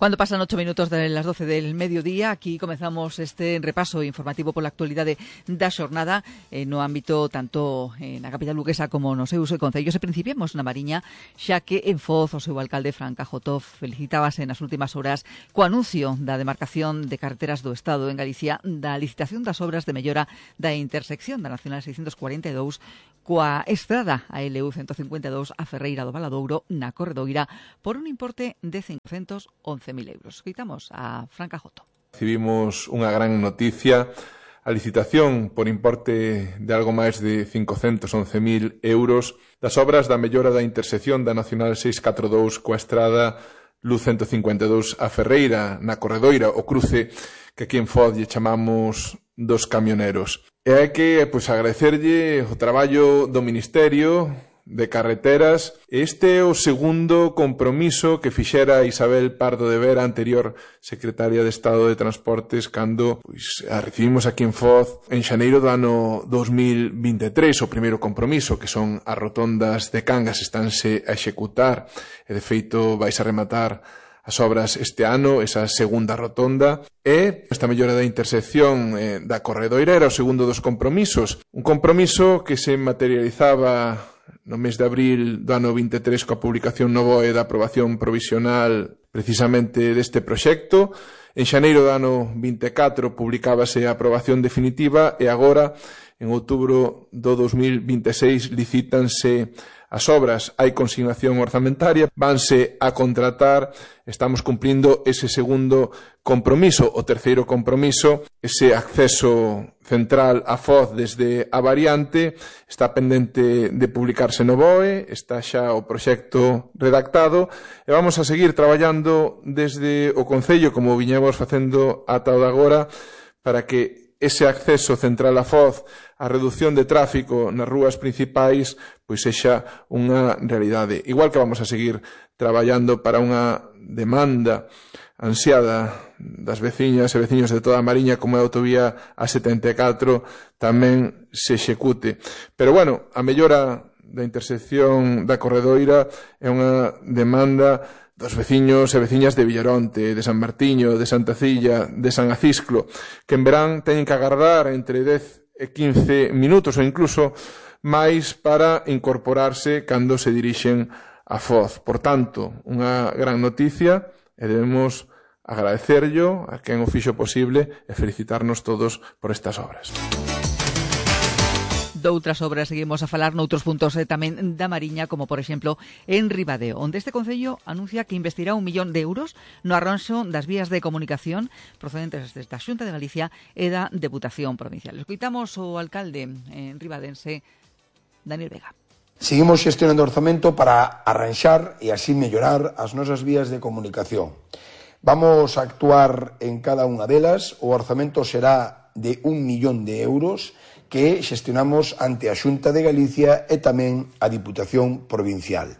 Cuando pasan 8 minutos de las 12 del mediodía, aquí comezamos este repaso informativo pola actualidade da xornada no ámbito tanto na capital luguesa como nos seus concellos, e principiemos na Mariña, xa que en Foz o seu alcalde Fran Cajotov felicitábase nas últimas horas co anuncio da demarcación de carreteras do Estado en Galicia da licitación das obras de mellora da intersección da Nacional 642 coa estrada a LU 152 a Ferreira do Valadouro na Corredoira por un importe de 511.000 euros. Escoitamos a Fran Cajotov. Recibimos unha gran noticia, a licitación por importe de algo máis de 511.000 euros das obras da mellora da intersección da Nacional 642 coa estrada LU 152 a Ferreira na Corredoira, o cruce que aquí en Foz lle chamamos dos camioneros. E hai que agradecerlle o traballo do Ministerio de Carreteras. Este é o segundo compromiso que fixera Isabel Pardo de Vera, anterior secretaria de Estado de Transportes, cando a recibimos aquí en Foz en xaneiro do ano 2023. O primeiro compromiso, que son as rotondas de Cangas, estánse a executar e de feito vais a rematar as obras este ano, esa segunda rotonda, e esta mellora da intersección da Corredoira era o segundo dos compromisos. Un compromiso que se materializaba no mes de abril do ano 23 coa publicación no BOE da aprobación provisional precisamente deste proxecto. En xaneiro do ano 24 publicábase a aprobación definitiva e agora, en outubro do 2026, licítanse as obras, hai consignación orzamentaria, vanse a contratar, estamos cumplindo ese segundo compromiso. O terceiro compromiso, ese acceso central a Foz desde a variante, está pendente de publicarse no BOE, está xa o proxecto redactado e vamos a seguir traballando desde o Concello, como viñemos facendo ata o de agora, para que ese acceso central a Foz, a reducción de tráfico nas rúas principais, pois sexa unha realidade. Igual que vamos a seguir traballando para unha demanda ansiada das veciñas e veciños de toda a Mariña, como a autovía A74, tamén se execute. Pero, bueno, a mellora da intersección da Corredoira é unha demanda dos veciños e veciñas de Villaronte, de San Martiño, de Santa Cilla, de San Acisclo, que en verán teñen que agardar entre 10 e 15 minutos ou incluso máis para incorporarse cando se dirixen a Foz. Por tanto, unha gran noticia e debemos agradecerllo a quen o fixo posible e felicitarnos todos por estas obras. Doutras obras seguimos a falar noutros puntos tamén da Mariña, como por exemplo en Ribadeo, onde este Concello anuncia que investirá 1 millón de euros no arranxo das vías de comunicación procedentes da Xunta de Galicia e da Deputación Provincial. Escoitamos o alcalde ribadense, Daniel Vega. Seguimos xestionando orzamento para arranxar e así mellorar as nosas vías de comunicación. Vamos a actuar en cada unha delas. O orzamento será de 1 millón de euros que xestionamos ante a Xunta de Galicia e tamén a Diputación Provincial.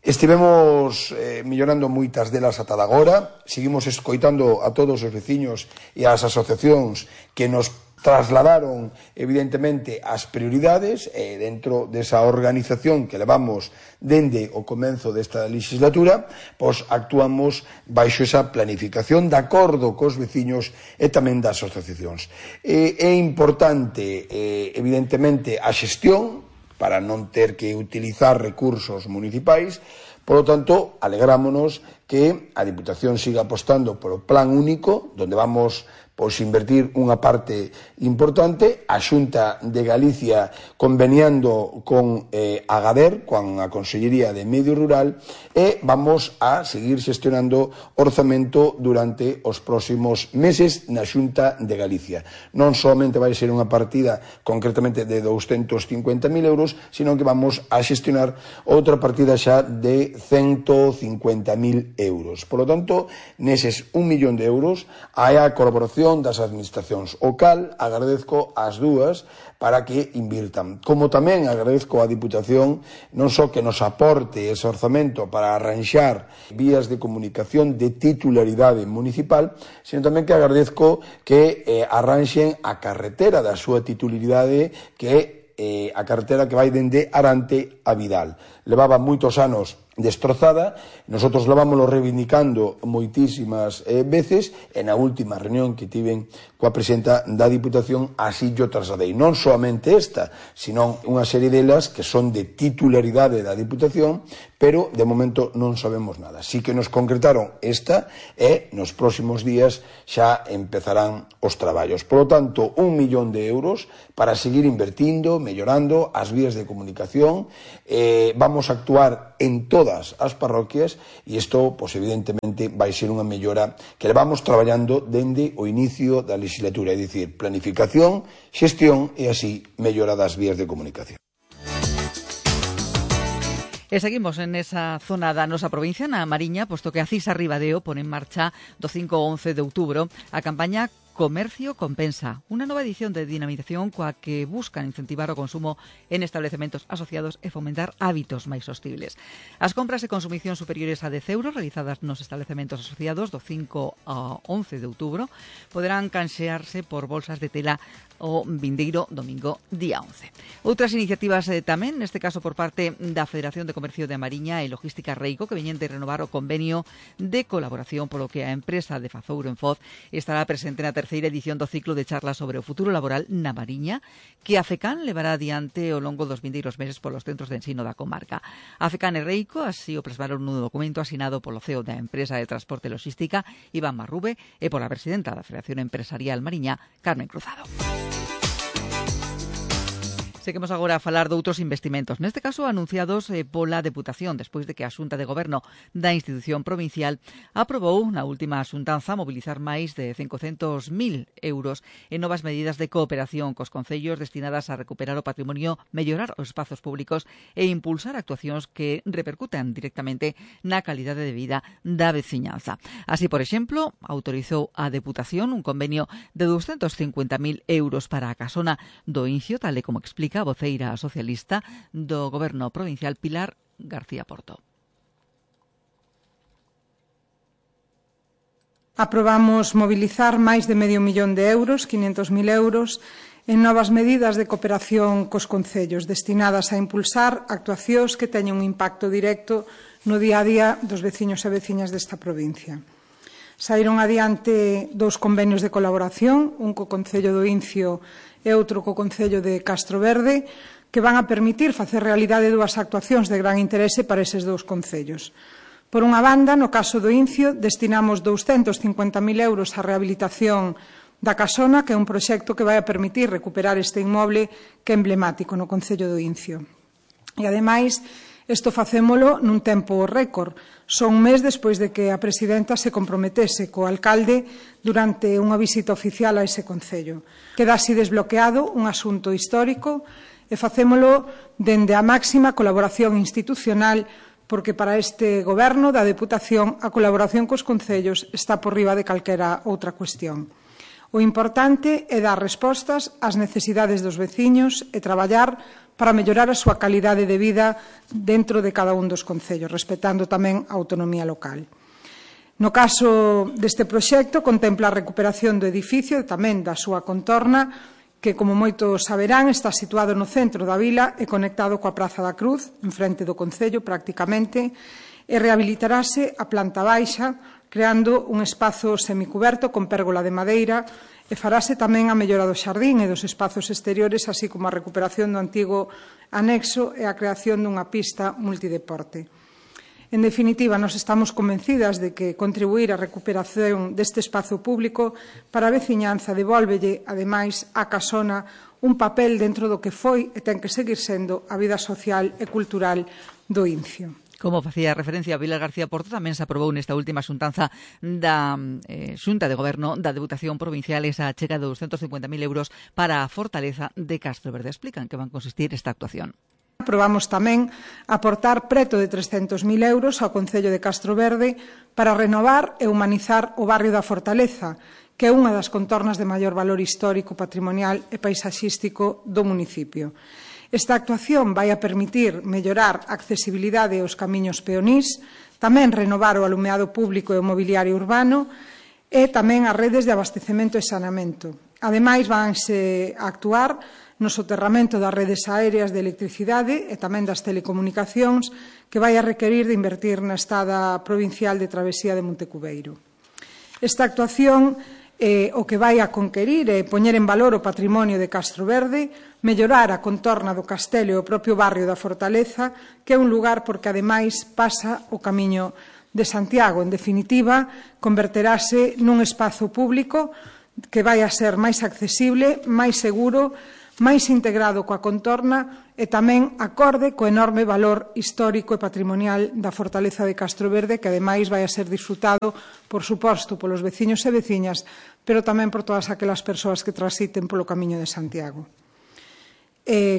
Estivemos mellorando moitas delas ata agora, seguimos escoitando a todos os veciños e as asociacións que nos trasladaron evidentemente as prioridades dentro desa organización que levamos dende o comenzo desta legislatura, pois actuamos baixo esa planificación de acordo cos veciños e tamén das asociacións. É importante evidentemente a xestión para non ter que utilizar recursos municipais. Por lo tanto, alegrámonos que a Diputación siga apostando polo plan único, donde vamos invertir unha parte importante, a Xunta de Galicia conveniando con Agader, con a Consellería de Medio Rural, e vamos a seguir xestionando orzamento durante os próximos meses na Xunta de Galicia. Non somente vai ser unha partida concretamente de 250.000 euros, sino que vamos a xestionar outra partida xa de 150.000 euros. Por lo tanto, neses 1 millón de euros hai a colaboración das administracións. O cal agradezco as dúas para que invirtan. Como tamén agradezco á Diputación non só que nos aporte ese orzamento para arranxar vías de comunicación de titularidade municipal, sino tamén que agradezco que arranxen a carretera da súa titularidade, que é a carretera que vai dende Arante a Vidal. Levaba moitos anos destrozada. Nosotros la vámoslo reivindicando moitísimas veces, e na última reunión que tiven coa presidenta da Diputación así yo trasladei, non soamente esta, sino unha serie delas que son de titularidade da Diputación, pero de momento non sabemos nada. Sí que nos concretaron esta e nos próximos días xa empezarán os traballos. Por lo tanto, 1 millón de euros para seguir invertindo, mellorando as vías de comunicación. Vamos a actuar en todas as parroquias e isto, pues, evidentemente, vai ser unha mellora que levamos traballando dende o inicio da legislatura, é dicir, planificación, xestión e así mellora das vías de comunicación. E seguimos en esa zona da nosa provincia, na Mariña, posto que a Cisa Ribadeo pone en marcha do 5 ao 11 de outubro a campaña Comercio Compensa, unha nova edición de dinamización coa que buscan incentivar o consumo en establecementos asociados e fomentar hábitos máis sostibles. As compras de consumición superiores a 10 euros realizadas nos establecementos asociados do 5 ao 11 de outubro poderán canxearse por bolsas de tela o vindeiro domingo día 11. Outras iniciativas tamén, neste caso por parte da Federación de Comercio de Mariña e Logística Reico, que veñen de renovar o convenio de colaboración polo que a empresa de Fazouro en Foz estará presente na terceira edición do ciclo de charlas sobre o futuro laboral na Mariña, que a FECAN levará adiante ao longo dos vindeiros meses polos centros de ensino da comarca. A FECAN e Reico así o plasmaron nun documento asinado polo CEO da empresa de transporte e logística, Iván Marrube, e pola presidenta da Federación Empresarial Mariña, Carmen Cruzado. Seguimos agora a falar de outros investimentos, neste caso anunciados pola Deputación, despois de que a Xunta de Goberno da institución provincial aprobou na última xuntanza mobilizar máis de 500.000 euros en novas medidas de cooperación cos concellos destinadas a recuperar o patrimonio, mellorar os espazos públicos e impulsar actuacións que repercutan directamente na calidade de vida da veciñanza. Así, por exemplo, autorizou a Deputación un convenio de 250.000 euros para a casona do Incio, tal e como explica a voceira socialista do Goberno provincial Pilar García Porto. Aprobamos mobilizar máis de medio millón de euros, 500.000 euros, en novas medidas de cooperación cos concellos destinadas a impulsar actuacións que teñen un impacto directo no día a día dos veciños e veciñas desta provincia. Saíron adiante 2 convenios de colaboración, un co Concello do Incio e outro co Concello de Castroverde, que van a permitir facer realidade 2 actuacións de gran interese para eses 2 concellos. Por unha banda, no caso do Incio, destinamos 250.000 euros á rehabilitación da Casona, que é un proxecto que vai a permitir recuperar este inmoble que é emblemático no Concello do Incio. E, ademais, isto facémolo nun tempo récord. Son un mes despois de que a presidenta se comprometese co alcalde durante unha visita oficial a ese concello. Queda así desbloqueado un asunto histórico e facémolo dende a máxima colaboración institucional, porque para este goberno da Deputación a colaboración cos concellos está por riba de calquera outra cuestión. O importante é dar respostas ás necesidades dos veciños e traballar para mellorar a súa calidade de vida dentro de cada un dos concellos, respetando tamén a autonomía local. No caso deste proxecto, contempla a recuperación do edificio e tamén da súa contorna, que, como moitos saberán, está situado no centro da vila e conectado coa Praza da Cruz, en frente do concello prácticamente, e rehabilitarase a planta baixa, creando un espazo semicuberto con pérgola de madeira, e farase tamén a mellora do xardín e dos espazos exteriores, así como a recuperación do antigo anexo e a creación dunha pista multideporte. En definitiva, nos estamos convencidas de que contribuir á recuperación deste espazo público para a veciñanza devólvelle, ademais, á Casona un papel dentro do que foi e ten que seguir sendo a vida social e cultural do Incio. Como facía referencia a Pilar García Porto, tamén se aprobou nesta última xuntanza da Xunta de Goberno da Deputación Provincial esa achega de 250.000 euros para a fortaleza de Castroverde. Explican que van consistir esta actuación. Aprobamos tamén aportar preto de 300.000 euros ao Concello de Castroverde para renovar e humanizar o barrio da Fortaleza, que é unha das contornas de maior valor histórico, patrimonial e paisaxístico do municipio. Esta actuación vai a permitir mellorar a accesibilidade aos camiños peonís, tamén renovar o alumeado público e o mobiliario urbano e tamén as redes de abastecemento e saneamento. Ademais, vanse a actuar no soterramento das redes aéreas de electricidade e tamén das telecomunicacións que vai a requerir de invertir na Estrada Provincial de Travesía de Montecubeiro. Esta actuación o que vai a conquerir é poñer en valor o patrimonio de Castroverde, mellorar a contorna do castelo e o propio barrio da Fortaleza, que é un lugar porque ademais pasa o Camiño de Santiago. En definitiva, converterase nun espazo público que vai a ser máis accesible, máis seguro, máis integrado coa contorna e tamén acorde co enorme valor histórico e patrimonial da Fortaleza de Castroverde, que ademais vai a ser disfrutado, por suposto, polos veciños e veciñas, pero tamén por todas aquelas persoas que transiten polo Camiño de Santiago.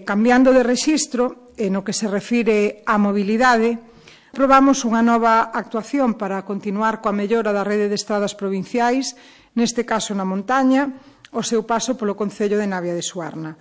Cambiando de rexistro, no que se refire á mobilidade, aprobamos unha nova actuación para continuar coa mellora da rede de estradas provinciais, neste caso na montaña, o seu paso polo concello de Navia de Suarna.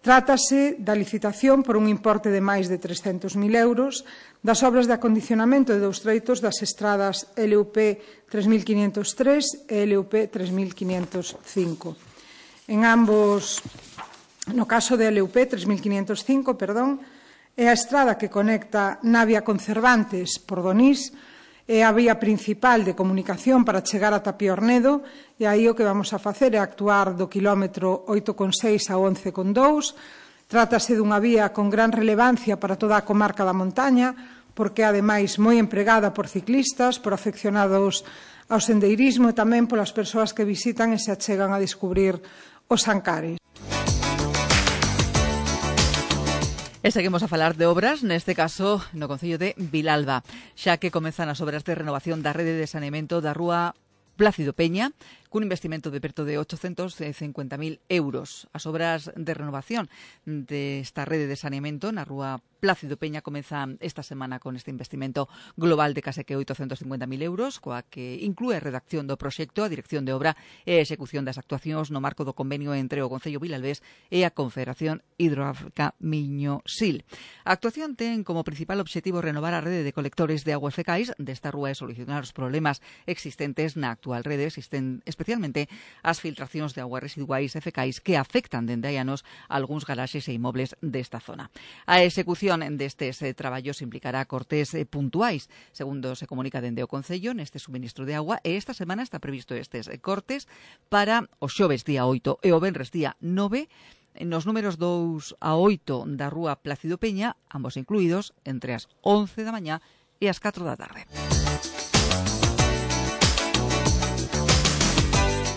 Trátase da licitación por un importe de máis de 300.000 euros das obras de acondicionamento de dous treitos das estradas LUP 3503 e LUP 3505. En ambos, no caso de LUP 3505, é a estrada que conecta Navia con Cervantes por Donís, é a vía principal de comunicación para chegar a Tapiornedo, e aí o que vamos a facer é actuar do quilómetro 8,6 a 11,2. Trátase dunha vía con gran relevancia para toda a comarca da montaña, porque é ademais moi empregada por ciclistas, por afeccionados ao sendeirismo e tamén polas persoas que visitan e se achegan a descubrir os Ancares. E seguimos a falar de obras, neste caso no concello de Vilalba, xa que comezan as obras de renovación da rede de saneamento da rúa Plácido Peña, cun investimento de perto de 850.000 euros. As obras de renovación desta rede de saneamento na rúa Plácido Peña comezan esta semana con este investimento global de case que 850.000 euros, coa que inclúe a redacción do proxecto, a dirección de obra e a execución das actuacións no marco do convenio entre o Concello Vilalbés e a Confederación Hidrográfica Miño-Sil. A actuación ten como principal obxectivo renovar a rede de colectores de aguas fecais desta rúa e solucionar os problemas existentes na actual rede, especialmente as filtracións de aguas residuais e fecais que afectan dende hai anos algúns garaxes e inmobles desta zona. A execución destes traballos implicará cortes puntuais, segundo se comunica dende o Concello neste suministro de agua, e esta semana está previsto estes cortes para o xoves día 8 e o venres día 9 nos números 2 a 8 da rúa Plácido Peña, ambos incluídos entre as 11 da mañá e as 4 da tarde.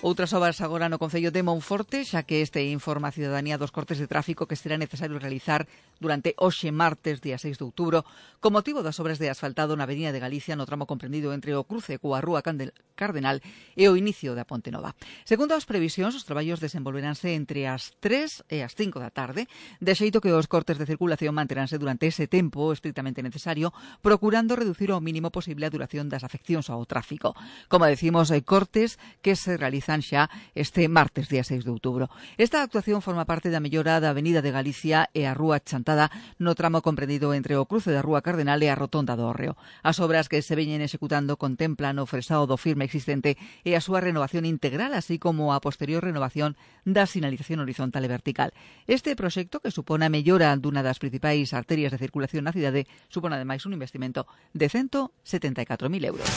Outras obras agora no concello de Monforte, xa que este informa a cidadanía dos cortes de tráfico que será necesario realizar durante hoxe martes, día 6 de outubro, con motivo das obras de asfaltado na Avenida de Galicia no tramo comprendido entre o cruce coa rúa Cardenal e o inicio da Ponte Nova. Segundo as previsións, os traballos desenvolveránse entre as 3 e as 5 da tarde, de xeito que os cortes de circulación manteránse durante ese tempo estrictamente necesario, procurando reducir ao mínimo posible a duración das afeccións ao tráfico. Como decimos, hai cortes que se realizan xa este martes, día 6 de outubro. Esta actuación forma parte da mellora da Avenida de Galicia e a Rúa Chantada no tramo comprendido entre o cruce da Rúa Cardenal e a Rotonda do Hórreo. As obras que se veñen executando contemplan o fresado do firme existente e a súa renovación integral, así como a posterior renovación da sinalización horizontal e vertical. Este proxecto, que supón a mellora dunha das principais arterias de circulación na cidade, supón ademais un investimento de 174.000 euros.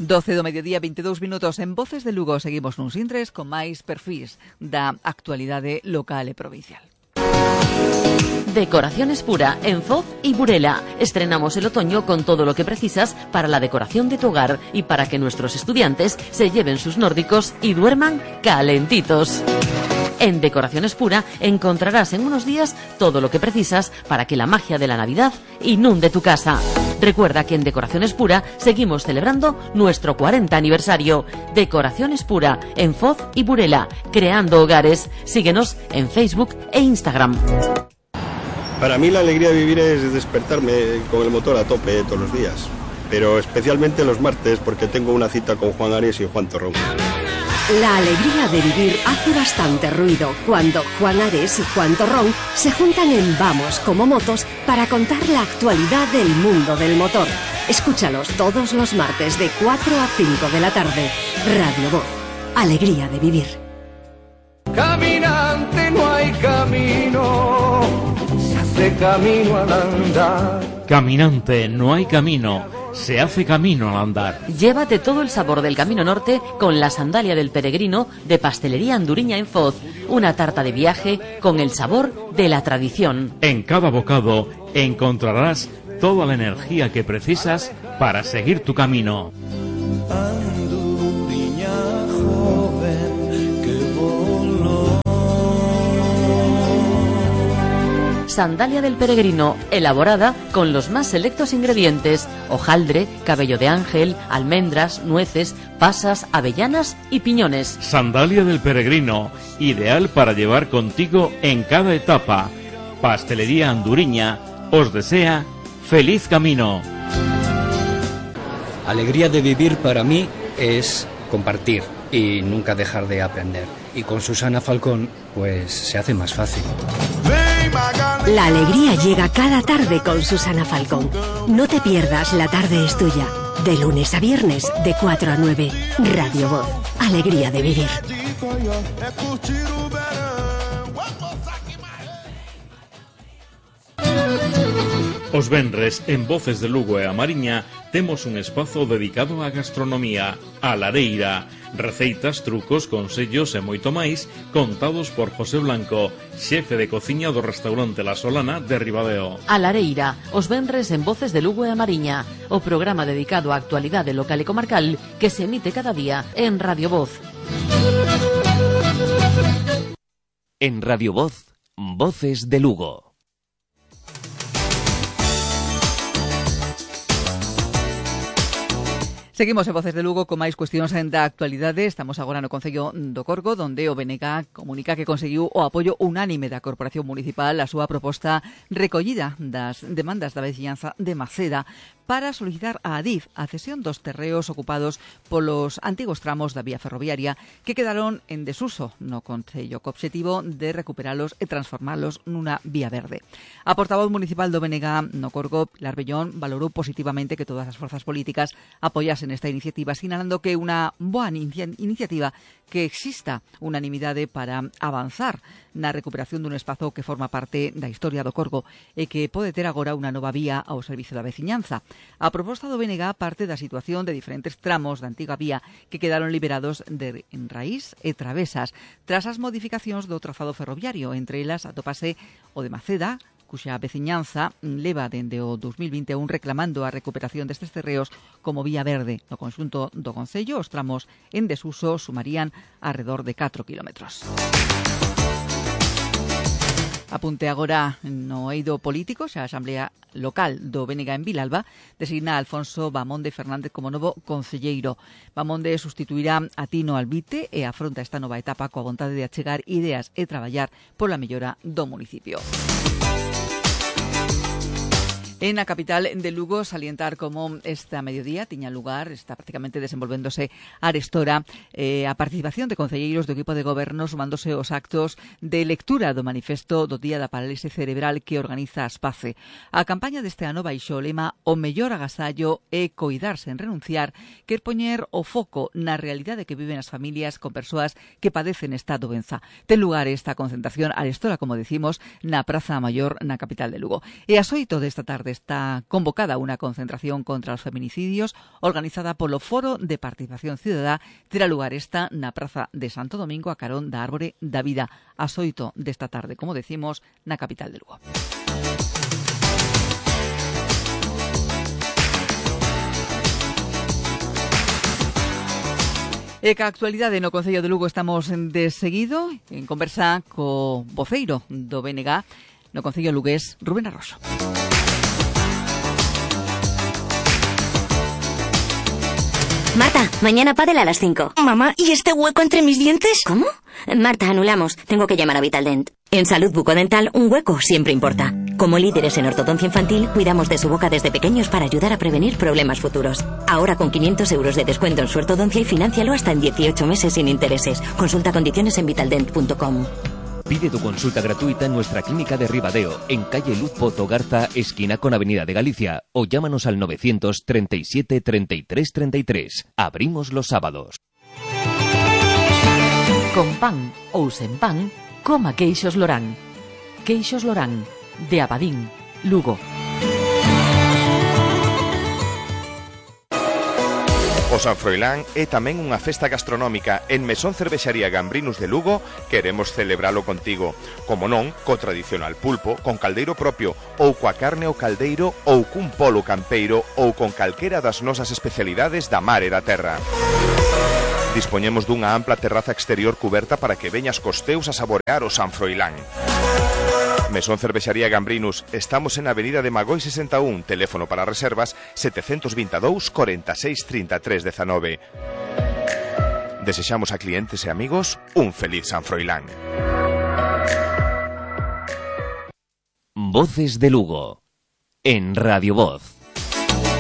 Doce do mediodía, 22 minutos en Voces de Lugo. Seguimos nuns intres con máis perfís da actualidade local e provincial. Decoraciones Pura en Foz y Burela. Estrenamos el otoño con todo lo que precisas para la decoración de tu hogar y para que nuestros estudiantes se lleven sus nórdicos y duerman calentitos. En Decoraciones Pura encontrarás en unos días todo lo que precisas para que la magia de la Navidad inunde tu casa. Recuerda que en Decoraciones Pura seguimos celebrando nuestro 40 aniversario. Decoraciones Pura en Foz y Burela, creando hogares. Síguenos en Facebook e Instagram. Para mí la alegría de vivir es despertarme con el motor a tope todos los días, pero especialmente los martes porque tengo una cita con Juan Ares y Juan Torrón. La alegría de vivir hace bastante ruido cuando Juan Ares y Juan Torrón se juntan en Vamos como Motos para contar la actualidad del mundo del motor. Escúchalos todos los martes de 4 a 5 de la tarde. Radio Voz. Alegría de vivir. Caminante no hay camino, se hace camino al andar. Caminante no hay camino, se hace camino al andar. Llévate todo el sabor del Camino Norte con la sandalia del peregrino de Pastelería Anduriña en Foz. Una tarta de viaje con el sabor de la tradición. En cada bocado encontrarás toda la energía que precisas para seguir tu camino. Anduriña joven que voló. Sandalia del peregrino, elaborada con los más selectos ingredientes: hojaldre, cabello de ángel, almendras, nueces, pasas, avellanas y piñones. Sandalia del peregrino, ideal para llevar contigo en cada etapa. Pastelería Anduriña os desea feliz camino. Alegría de vivir para mí es compartir y nunca dejar de aprender. Y con Susana Falcón, pues se hace más fácil. La alegría llega cada tarde con Susana Falcón. No te pierdas La tarde es tuya. De lunes a viernes, de 4 a 9. Radio Voz. Alegría de vivir. Os venres, en Voces de Lugo e a Mariña, temos un espazo dedicado á gastronomía, a lareira. Receitas, trucos, consellos e moito máis contados por José Blanco, xefe de cociña do restaurante La Solana de Ribadeo. A lareira, os venres en Voces de Lugo e a Mariña, o programa dedicado á actualidade local e comarcal que se emite cada día en Radio Voz. En Radio Voz, Voces de Lugo. Seguimos en Voces de Lugo con máis cuestións da actualidade. Estamos agora no Concello do Corgo, donde o BNG comunica que conseguiu o apoio unánime da Corporación Municipal a súa proposta recollida das demandas da veciñanza de Maceda para solicitar a Adif a cesión dos terreos ocupados polos antigos tramos da vía ferroviaria que quedaron en desuso no Concello, co obxectivo de recuperalos e transformalos nunha vía verde. A portavoz municipal do BNG no Corgo, Pilar Bellón, valorou positivamente que todas as forzas políticas apoyasen esta iniciativa, sinalando que é unha boa iniciativa que exista unanimidade para avanzar na recuperación dun espazo que forma parte da historia do Corgo e que pode ter agora unha nova vía ao servizo da veciñanza. A proposta do BNG parte da situación de diferentes tramos da antiga vía que quedaron liberados de enraíz e travesas tras as modificacións do trazado ferroviario. Entre elas atópase o de Maceda, cuxa veciñanza leva dende o 2021 reclamando a recuperación destes terreos como vía verde. No conxunto do Concello, os tramos en desuso sumarían alrededor de 4 kilómetros. Apunte agora no eido político, xa a Asamblea Local do BNG en Vilalba designa a Alfonso Bamonde Fernández como novo concelleiro. Bamonde sustituirá a Tino Albite e afronta esta nova etapa coa vontade de achegar ideas e traballar pola mellora do municipio. En a capital de Lugo, salientar como esta mediodía tiña lugar, está prácticamente desenvolvéndose arestora, a participación de concelleiros do equipo de goberno sumándose aos actos de lectura do manifesto do Día da Parálise Cerebral que organiza Aspace. A campaña deste ano baixo o lema "O mellor agasallo é coidar sen renunciar", quer poñer o foco na realidade que viven as familias con persoas que padecen esta doenza. Ten lugar esta concentración arestora, como decimos, na Praza Maior na capital de Lugo. E ás 8 desta tarde está convocada unha concentración contra os feminicidios organizada polo Foro de Participación Cidadá. Terá lugar esta na Praza de Santo Domingo a carón da Árbore da Vida ás 8 desta tarde, como decimos, na capital de Lugo. E ca actualidade no Concello de Lugo estamos de seguido en conversa co voceiro do BNG no Concello lugués, Rubén Arroxo. Marta, mañana pádel a las 5. Mamá, ¿y este hueco entre mis dientes? ¿Cómo? Marta, anulamos. Tengo que llamar a Vitaldent. En Salud Bucodental, un hueco siempre importa. Como líderes en ortodoncia infantil, cuidamos de su boca desde pequeños para ayudar a prevenir problemas futuros. Ahora con 500 euros de descuento en su ortodoncia y financialo hasta en 18 meses sin intereses. Consulta condiciones en vitaldent.com. Pide tu consulta gratuita en nuestra clínica de Ribadeo, en calle Luz Pozo Garza, esquina con Avenida de Galicia, o llámanos al 937 33 33. Abrimos los sábados. Con pan ou sen pan, coma queixos Lorán. Queixos Lorán, de Abadín, Lugo. O San Froilán é tamén unha festa gastronómica. En Mesón Cervexaría Gambrinus de Lugo queremos celebralo contigo. Como non, co tradicional pulpo, con caldeiro propio, ou coa carne ao caldeiro, ou cun polo campeiro, ou con calquera das nosas especialidades da mar e da terra. Dispoñemos dunha ampla terraza exterior cuberta para que veñas cos teus a saborear o San Froilán. Mesón Cervexaría Gambrinus, estamos en Avenida de Magoi 61, teléfono para reservas 722 46 33 19. Desexamos a clientes e amigos un feliz San Froilán. Voces de Lugo, en Radio Voz.